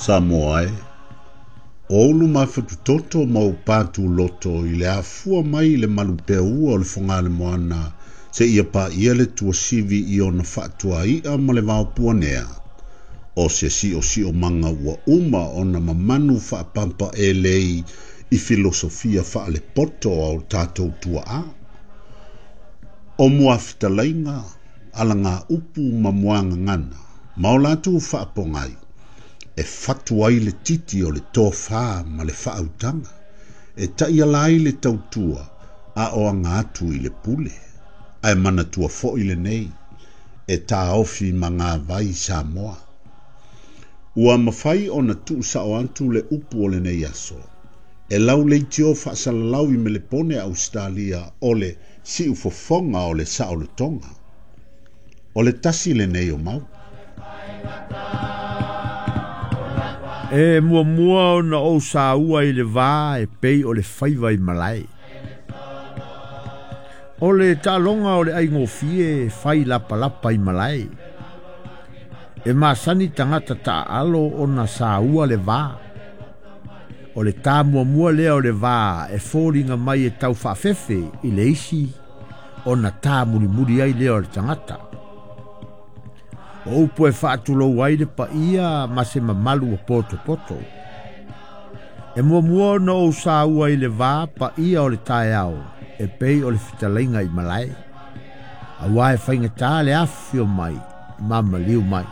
Samoa e, o ulu mafatutoto ma ou patuloto i le afua mai i le malupeaua o le Fogaalemoana seia paia le tuasivi i ona faatuai'a ma le vaopuanea, o se siosiomaga ua uma ona mamanu faapapaelei i filosofia faalepoto a o tatou tuaa. O muafetalaiga, alagaupu ma muagagana, ma o latou faapogai, e fatu ai le titi o le tofā ma le faautaga, e taiala ai le tautua a o aga atu i le pule. Ae manatua foi lenei, e taofi magavai Samoa. Ua mafai ona tuusao atu le upu o lenei aso, e lauleitio faasalalau i Melepone Ausetalia o le siufofoga o le saolotoga. O le tasi lenei o mau. E muamua ona ou saua i le va e pei o le faiva i malae. O le taaloga o le aigofie e fai lapalapa i malae. E masani tagata taaalo ona saua le va. O le tā muamua lea o le va e foliga mai e tau faafefe i le isi ona tā mulimuli ai lea o le tagata. O upu e faatulou ai le paia ma se mamalu ua potopoto. E muamua ona ou saua i le va paia o le taeao e pei o le fetalaiga i malae. Auā e faigata le afifio mai ma maliu mai.